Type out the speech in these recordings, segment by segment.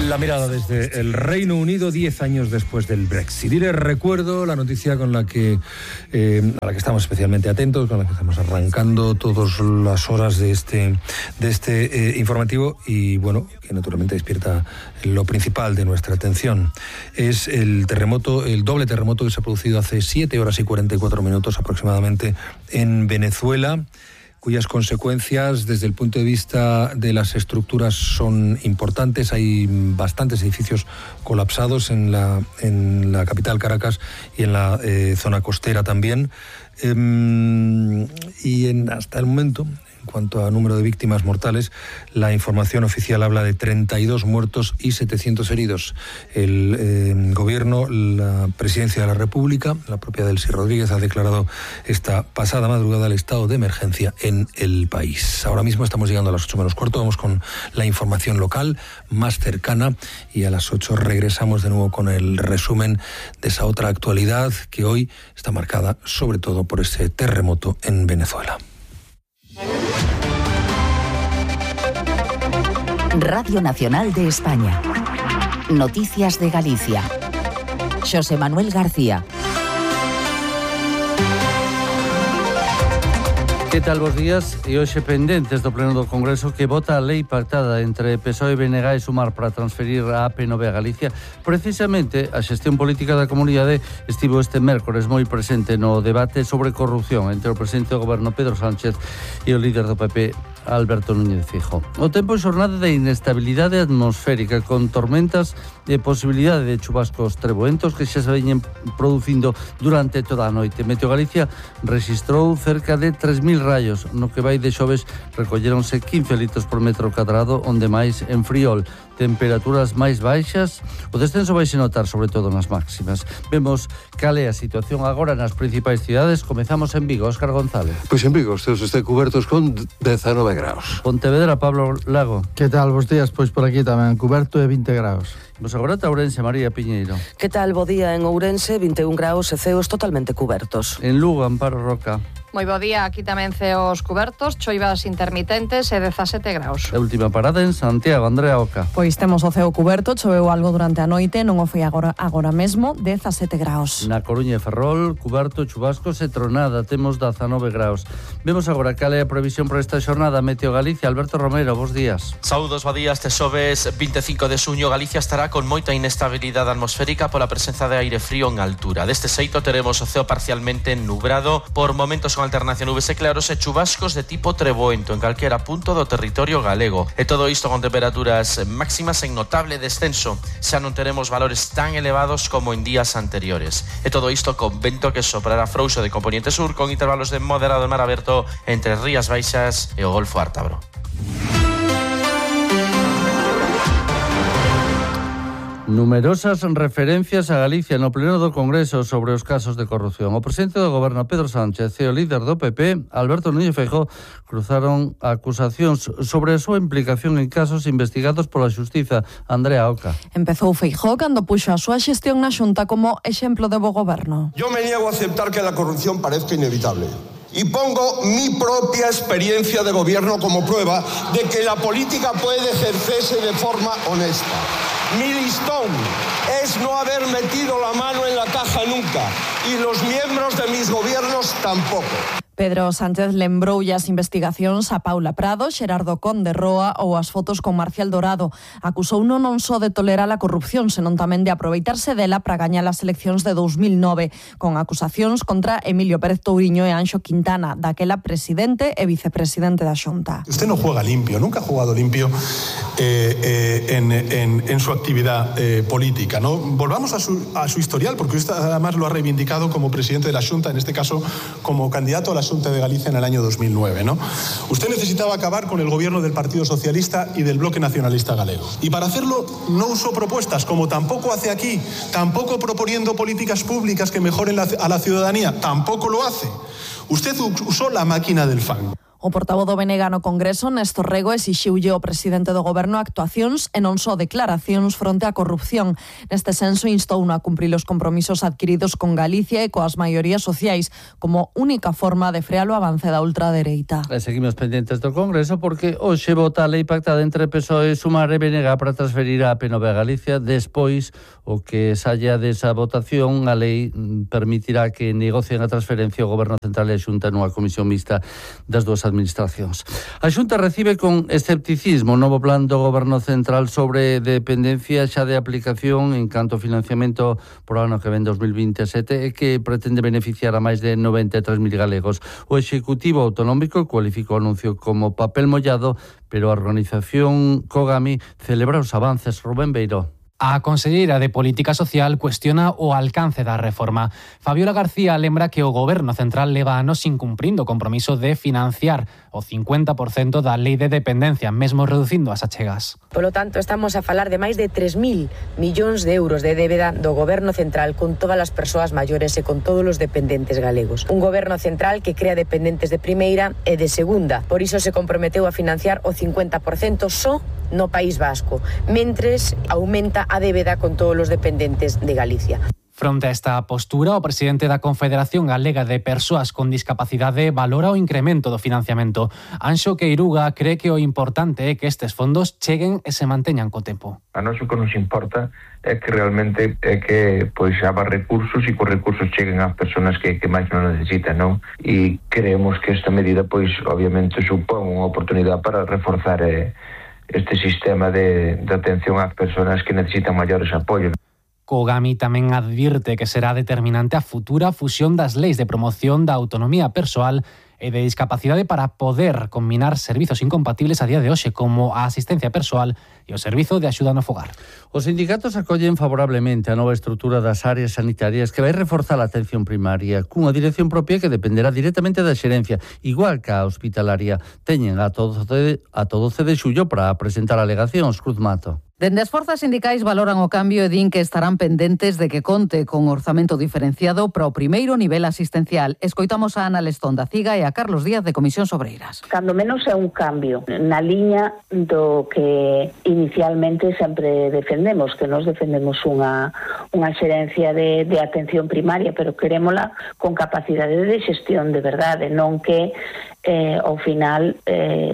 La mirada desde el Reino Unido 10 años después del Brexit. Y les recuerdo la noticia con la que a la que estamos especialmente atentos, con la que estamos arrancando todas las horas de este informativo y bueno, que naturalmente despierta lo principal de nuestra atención. Es el doble terremoto que se ha producido hace 7 horas y 44 minutos aproximadamente en Venezuela, cuyas consecuencias desde el punto de vista de las estructuras son importantes. Hay bastantes edificios colapsados en la capital Caracas y en la zona costera también. Hasta el momento, en cuanto a número de víctimas mortales, la información oficial habla de 32 muertos y 700 heridos. El gobierno, la presidencia de la República, la propia Delcy Rodríguez, ha declarado esta pasada madrugada el estado de emergencia en el país. Ahora mismo estamos llegando a las 8 menos cuarto, vamos con la información local más cercana y a las 8 regresamos de nuevo con el resumen de esa otra actualidad que hoy está marcada sobre todo por ese terremoto en Venezuela. Radio Nacional de España. Noticias de Galicia. Xosé Manuel García. Que tal, bos días? E hoxe pendentes do Pleno do Congreso que vota a lei pactada entre PSOE, BNG e Sumar para transferir a AP9 a Galicia. Precisamente, a xestión política da comunidade estivo este mércores moi presente no debate sobre corrupción entre o presidente do goberno Pedro Sánchez e o líder do PP, Alberto Núñez Feijóo. O tempo é xornada de inestabilidade atmosférica con tormentas e posibilidade de chubascos treboentos que xa se veñen producindo durante toda a noite. Meteo Galicia registrou cerca de 3.000 rayos, no que vai de xoves recolleronse 15 litros por metro cadrado, onde máis en Friol. Temperaturas máis baixas, o descenso vai se notar sobre todo nas máximas. Vemos cal é a situación agora nas principais cidades. Comezamos en Vigo, Óscar González. Pois en Vigo, os teus están cubertos con 19 graus. Pontevedra, Pablo Lago. Que tal, bos días? Pois por aquí tamén, cuberto e 20 graus. Vos agora a Ourense, María Piñeiro. Que tal, bo día en Ourense, 21 graus e ceos totalmente cubertos. En Lugo, Amparo Roca. Moi bo día, aquí tamén ceos cubertos, choivas intermitentes e 17 graus. A última parada en Santiago, Andrea Oca. Pois temos o ceo cuberto, choveu algo durante a noite, non o foi agora mesmo, 17 graus. Na Coruña e Ferrol, cuberto, chubascos e tronada, temos 19 graus. Vemos agora cal é a previsión para esta xornada. Meteo Galicia, Alberto Romero, bos días. Saúdos, bo día, este xoves 25 de suño, Galicia estará con moita inestabilidade atmosférica pola presenza de aire frío en altura. Deste xeito teremos o ceo parcialmente nubrado, por momentos con alternancia nubes e claros e chubascos de tipo treboento en calquera punto do territorio galego. E todo isto con temperaturas máximas en notable descenso. Xa non teremos valores tan elevados como en días anteriores. E todo isto con vento que soprará frouxo de componente sur con intervalos de moderado en mar aberto entre Rías Baixas e o Golfo Ártabro. Numerosas referencias a Galicia no Pleno do Congreso sobre os casos de corrupción. O presidente do goberno Pedro Sánchez e o líder do PP, Alberto Núñez Feijóo, cruzaron acusacións sobre a súa implicación en casos investigados pola Xustiza. Andrea Oca. Empezou Feijóo cando puxo a súa xestión na Xunta como exemplo de bo goberno. Yo me niego a aceptar que la corrupción parezca inevitable. Y pongo mi propia experiencia de gobierno como prueba de que la política puede ejercerse de forma honesta. Mi listón es no haber metido la mano en la caja nunca y los miembros de mis gobiernos tampoco. Pedro Sánchez lembroulle as investigacións a Paula Prado, Xerardo Conde Roa ou as fotos con Marcial Dorado. Acusouno non só de tolerar a corrupción, senón tamén de aproveitarse dela para gañar as eleccións de 2009, con acusacións contra Emilio Pérez Touriño e Anxo Quintana, daquela presidente e vicepresidente da Xunta. Usted no juega limpio, nunca ha jugado limpio en su actividad política, ¿no? Volvamos a su historial, porque usted además lo ha reivindicado como presidente de la Xunta, en este caso como candidato a la Xunta de Galicia en el año 2009, ¿no? Usted necesitaba acabar con el gobierno del Partido Socialista y del Bloque Nacionalista Galego. Y para hacerlo no usó propuestas, como tampoco hace aquí, tampoco proponiendo políticas públicas que mejoren a la ciudadanía, tampoco lo hace. Usted usó la máquina del fango. O portavoz do BNG no Congreso, Néstor Rego, exixiulle ao presidente do Goberno actuacións e non só declaracións fronte á corrupción. Neste senso, instou a cumprir os compromisos adquiridos con Galicia e coas maiorías sociais como única forma de frear o avance da ultradereita. Seguimos pendentes do Congreso porque hoxe vota a lei pactada entre PSOE, Sumar e BNG para transferir a AP9 a Galicia. Despois, o que saia desa votación, a lei permitirá que negocien a transferencia o Goberno Central e a Xunta nunha comisión mixta das dúas administracións. A Xunta recibe con escepticismo o novo plan do Goberno Central sobre dependencia xa de aplicación en canto financiamento por ano que ven 2027 e que pretende beneficiar a máis de 93.000 galegos. O Executivo Autonómico cualificou o anuncio como papel mollado, pero a organización Cogami celebra os avances. Rubén Beiró. A conselleira de Política Social cuestiona o alcance da reforma. Fabiola García lembra que o Goberno Central leva anos incumprindo o compromiso de financiar o 50% da lei de dependencia, mesmo reducindo as achegas. Polo tanto, estamos a falar de máis de 3.000 millóns de euros de débeda do Goberno Central con todas as persoas maiores e con todos os dependentes galegos. Un Goberno Central que crea dependentes de primeira e de segunda. Por iso se comprometeu a financiar o 50% só no País Vasco, mentres aumenta a débeda con todos os dependentes de Galicia. Fronte a esta postura, o presidente da Confederación Galega de Persoas con Discapacidade valora o incremento do financiamento. Anxo Queiruga cree que o importante é que estes fondos cheguen e se manteñan co tempo. A nós o que nos importa é que realmente é que pois haba recursos e que os recursos cheguen ás persoas que máis non necesitan, non? E creemos que esta medida pois obviamente supón unha oportunidade para reforzar este sistema de atención ás persoas que necesitan maiores apoios. Cogami tamén advirte que será determinante a futura fusión das leis de promoción da autonomía persoal e de discapacidade para poder combinar servizos incompatibles a día de hoxe como a asistencia persoal e o servizo de axuda no fogar. Os sindicatos acollen favorablemente a nova estrutura das áreas sanitarias que vai reforzar a atención primaria cunha dirección propia que dependerá directamente da xerencia, igual que a hospitalaria. Teñen a todo 12 de xullo para presentar alegacións. Cruz Mato. Dende as forzas sindicais valoran o cambio e din que estarán pendentes de que conte con orzamento diferenciado para o primeiro nivel asistencial. Escoitamos a Ana Lestón da CIGA e a Carlos Díaz de Comisións Obreiras. Cando menos é un cambio na liña do que inicialmente sempre defendemos, que nos defendemos unha xerencia de atención primaria, pero querémola con capacidade de xestión de verdade, non que ao final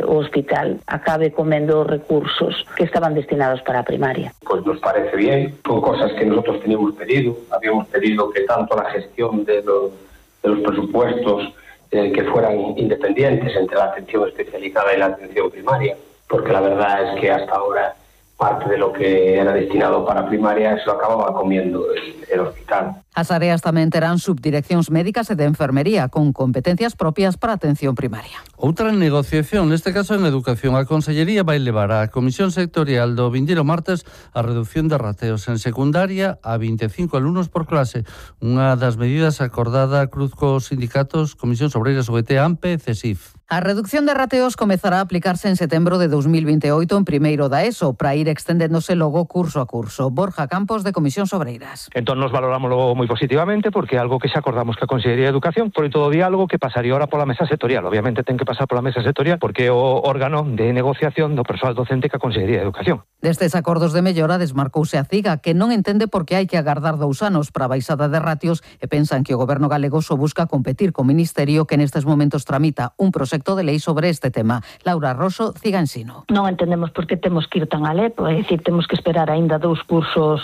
o hospital acabe comendo os recursos que estaban destinados para a primaria. Pues nos parece bien, son cosas que nosotros teníamos pedido. Habíamos pedido que tanto la gestión de los presupuestos que fueran independientes entre la atención especializada y la atención primaria, porque la verdad es que hasta ahora parte de lo que era destinado para primaria se lo acababa comiendo el hospital. As áreas tamén terán subdireccións médicas e de enfermería con competencias propias para atención primaria. Outra negociación, neste caso en educación, a Consellería vai levar á Comisión Sectorial do vindeiro martes a reducción de rateos en secundaria a 25 alumnos por clase. Unha das medidas acordada cruz cos sindicatos Comisións Obreiras, UGT, AMPE e CESIF. A reducción de rateos comezará a aplicarse en setembro de 2028 en primeiro da ESO, para ir extendéndose logo curso a curso. Borja Campos, de Comisións Obreiras. Entón nos valoramos logo moi positivamente porque é algo que xa acordamos ca Consellería de Educación, por todo o diálogo que pasaría ahora pola mesa sectorial. Obviamente ten que pasar pola mesa sectorial porque é o órgano de negociación do persoal docente ca Consellería de Educación. Destes acordos de mellora desmarcouse a CIGA, que non entende por que hai que agardar 2 anos para a baixada de ratios e pensan que o Goberno galego só busca competir co Ministerio que nestes momentos tramita un proxecto de lei sobre este tema. Laura Rosso, CIGA Ensino. Non entendemos por que temos que ir tan alepo, é dicir, temos que esperar aínda 2 cursos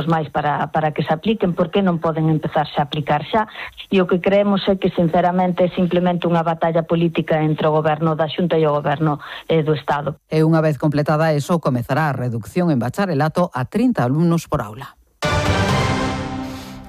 máis para que se apliquen, porque non poden empezarse a aplicar xa, e o que creemos é que sinceramente é simplemente unha batalla política entre o Goberno da Xunta e o Goberno do Estado. E unha vez completada eso, comezará a reducción en bacharelato a 30 alumnos por aula.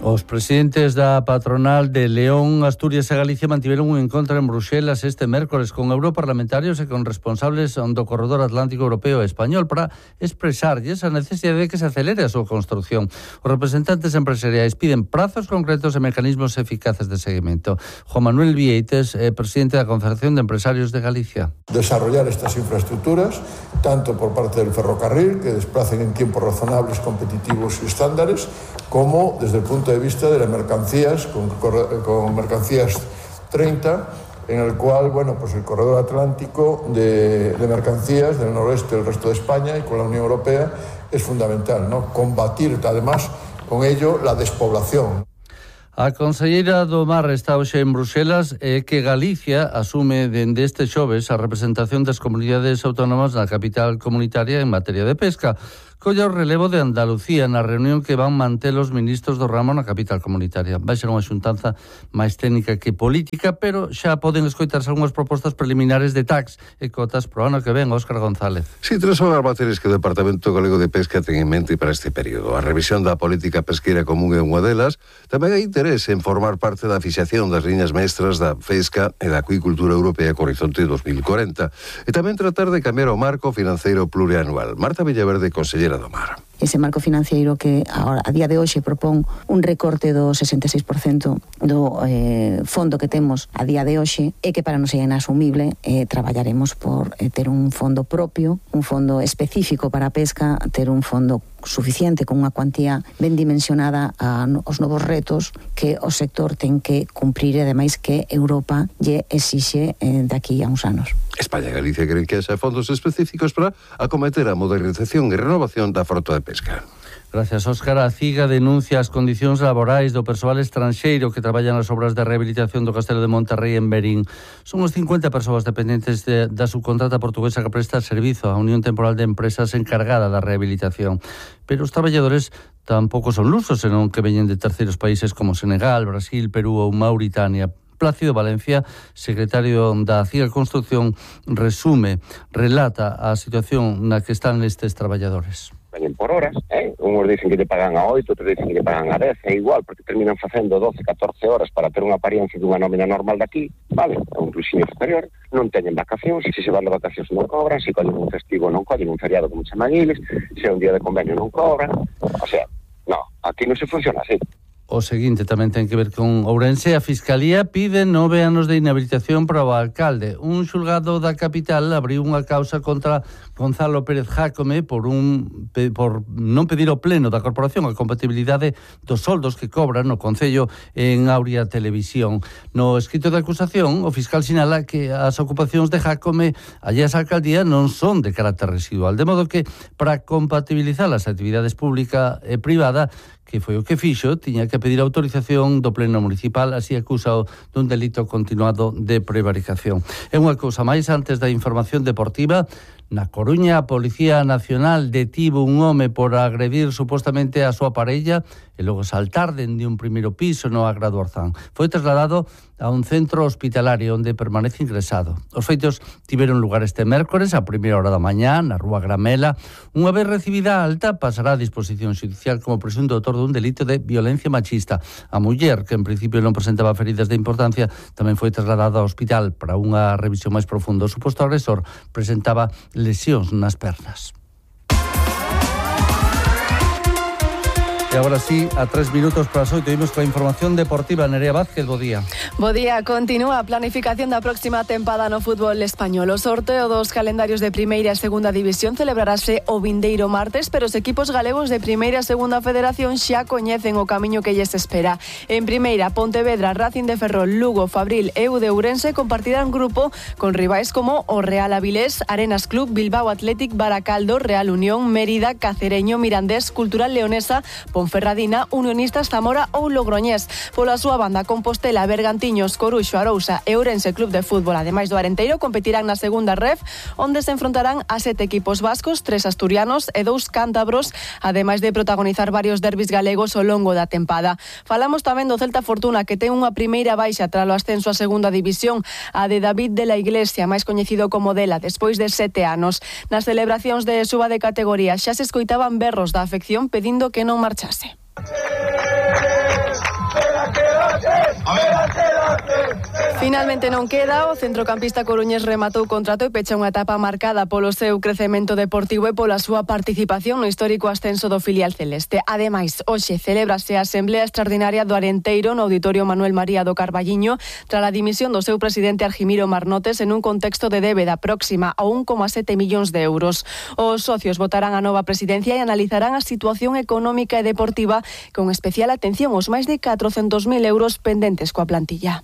Os presidentes da patronal de León, Asturias e Galicia mantiveron un encontro en Bruxelas este mércores con europarlamentarios e con responsables do corredor atlántico europeo e español para expresarlles a necesidade de que se acelere a súa construción. Os representantes empresariais piden prazos concretos e mecanismos eficaces de seguimento. Juan Manuel Vieites, presidente da Confederación de Empresarios de Galicia. Desarrollar estas infraestructuras, tanto por parte del ferrocarril, que desplacen en tiempos razonables, competitivos y estándares, como desde el punto de vista de las mercancías, con mercancías 30, en el cual, bueno, pues el corredor atlántico de mercancías del noroeste del resto de España y con la Unión Europea es fundamental, ¿no? Combatir, además, con ello la despoblación. A conselleira do Mar está hoxe en Bruxelas e que Galicia asume dende este xoves a representación das comunidades autónomas na capital comunitaria en materia de pesca. Colla o relevo de Andalucía na reunión que van manter os ministros do ramo na capital comunitaria. Vai ser unha xuntanza máis técnica que política, pero xa poden escoitarse algunhas propostas preliminares de tax e cotas pro ano que ven. Óscar González. Sí, tres son as materias que o Departamento Galego de Pesca ten en mente para este período. A revisión da política pesqueira común é unha delas. Tamén hai interés en formar parte da fixación das liñas mestras da pesca e da acuicultura europea co horizonte 2040. E tamén tratar de cambiar o marco financeiro plurianual. Marta Villaverde, consellera do Mar. Ese marco financiero que a día de hoxe propón un recorte do 66% do fondo que temos a día de hoxe e que para nos é inasumible. Traballaremos por ter un fondo propio, un fondo específico para a pesca, ter un fondo suficiente con unha cuantía ben dimensionada aos novos retos que o sector ten que cumprir e ademais que Europa lle exixe daqui a uns anos. España e Galicia creen que haxa fondos específicos para acometer a modernización e renovación da frota de pesca. Gracias, Óscar. A CIGA denuncia as condicións laborais do persoal estranxeiro que traballa nas obras de rehabilitación do Castelo de Monterrey en Berín. Son uns 50 persoas dependentes da subcontrata portuguesa que presta servizo á Unión Temporal de Empresas encargada da rehabilitación. Pero os traballadores tampouco son lusos, senón que veñen de terceiros países como Senegal, Brasil, Perú ou Mauritania. Plácido Valencia, secretario da CIGA Construcción, relata a situación na que están estes traballadores. Veñen por horas, Uns dicen que lle pagan a 8, outros dicen que lle pagan a 10, é igual, porque terminan facendo 12, 14 horas para ter unha apariencia dunha nómina normal daqui, vale, é un inclusive superior, non teñen vacacións, se van de vacacións non cobran, se collen un festivo non collen, un feriado como chaman eles, se é un día de convenio non cobran, o sea, no, aquí non se funciona así. O seguinte tamén ten que ver con Ourense. A Fiscalía pide 9 anos de inhabilitación para o alcalde. Un xulgado da capital abriu unha causa contra Gonzalo Pérez Jácome por non pedir ao pleno da corporación a compatibilidade dos soldos que cobran no Concello en Aurea Televisión. No escrito de acusación, o fiscal sinala que as ocupacións de Jácome allá esa alcaldía non son de carácter residual, de modo que para compatibilizar as actividades pública e privada, que foi o que fixo, tiña que pedir autorización do pleno municipal, así acusado dun delito continuado de prevaricación. É unha cousa máis antes da información deportiva. Na Coruña, a Policía Nacional detivo un home por agredir supostamente a súa parella e logo saltar dende un primeiro piso no Agra do Orzán. Foi trasladado a un centro hospitalario onde permanece ingresado. Os feitos tiveron lugar este mércores a primeira hora da mañá na Rúa Gramela. Unha vez recibida a alta, pasará a disposición xudicial como presunto autor dun delito de violencia machista. A muller, que en principio non presentaba feridas de importancia, tamén foi trasladada ao hospital para unha revisión máis profunda. O suposto agresor presentaba lesións nas pernas. E agora sí, a 3 minutos para as 8, imos coa información deportiva. Nerea Vázquez, bo día. Bo día, continúa a planificación da próxima tempada no fútbol español. O sorteo dos calendarios de primeira e segunda división celebrarase o vindeiro martes, pero os equipos galegos de primeira e segunda federación xa coñecen o camiño que lles espera. En primeira, Pontevedra, Racing de Ferrol, Lugo, Fabril e U de Ourense compartirán grupo con rivais como o Real Avilés, Arenas Club, Bilbao Athletic, Baracaldo, Real Unión, Mérida, Cacereño, Mirandés, Cultural Leonesa, Ponferradina, Unionistas Zamora ou Logroñés. Pola súa banda, Compostela, Bergantiños, Coruxo, Arousa e Ourense Club de Fútbol, ademais do Arenteiro, competirán na segunda ref, onde se enfrontarán a 7 equipos vascos, 3 asturianos e 2 cántabros, ademais de protagonizar varios derbis galegos ao longo da tempada. Falamos tamén do Celta Fortuna, que ten unha primeira baixa tralo ascenso a segunda división, a de David de la Iglesia, máis coñecido como Dela, despois de 7 anos. Nas celebracións de suba de categoría xa se escoitaban berros da afección pedindo que non marchase. Finalmente non queda, o centrocampista coruñés rematou contrato e pecha unha etapa marcada polo seu crecemento deportivo e pola súa participación no histórico ascenso do filial celeste. Ademais, hoxe celébrase a Asamblea Extraordinaria do Arenteiro no Auditorio Manuel María do Carballiño tras a dimisión do seu presidente Argimiro Marnotes en un contexto de débeda próxima a 1,7 millóns de euros. Os socios votarán a nova presidencia e analizarán a situación económica e deportiva con especial atención aos máis de 400.000 euros pendentes coa plantilla.